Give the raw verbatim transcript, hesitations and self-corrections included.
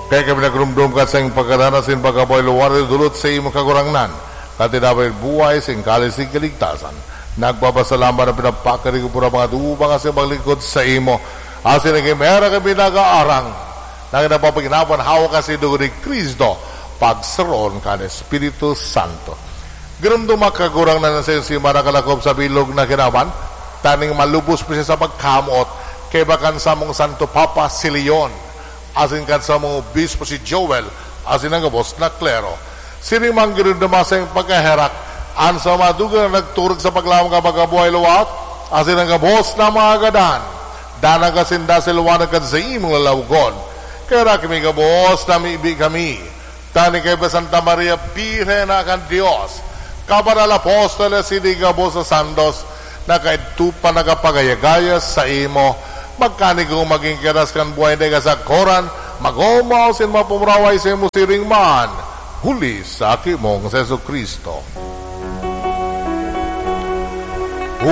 Kaya kami nagrumdom ka sa iyong pagkadana sin pagkabuhay luwal na dulot sa imo, Kagurangnan, na tinapay buhay sin kalis sin kaligtasan. Nagpapasalamat na pinapakari ko po ang mga tuba nga sa paglingkod sa imo. Asin naging mera kami nag-aarang na napapaginapan hawak ka sa dugo ni Cristo, pagsaron kan Espiritu Santo. Girumduma, Kagurangnan, sa iyong simana kalakop sa bilog na kinaban, taning malubos pa siya sa pagkamot, kaiba kan samong Santo Papa si Leon, asin kan samong obispo si Joel, asin ang gabos na klero. Siring man girumduma sa iyong pagkaherak an sa mga dugang na nagturog sa paglaom kan pagkabuhay liwat, asin ang gabos na mga gadan. Danay ka sinda sa liwanag kan sa imong lalawogon. Kaya kami gabos na mibi kami. Tani kay Santa Maria, Birhen na kan Dios, kabanal apostoles, sini gabos na santos, na kaidto pa nagapagayagaya sa imo, magkanigong magin kiras kan buhay na kasakoran, mag-omaw sin mapamuraway sa imo siring man, huli sa aki mong si Jesu-Cristo.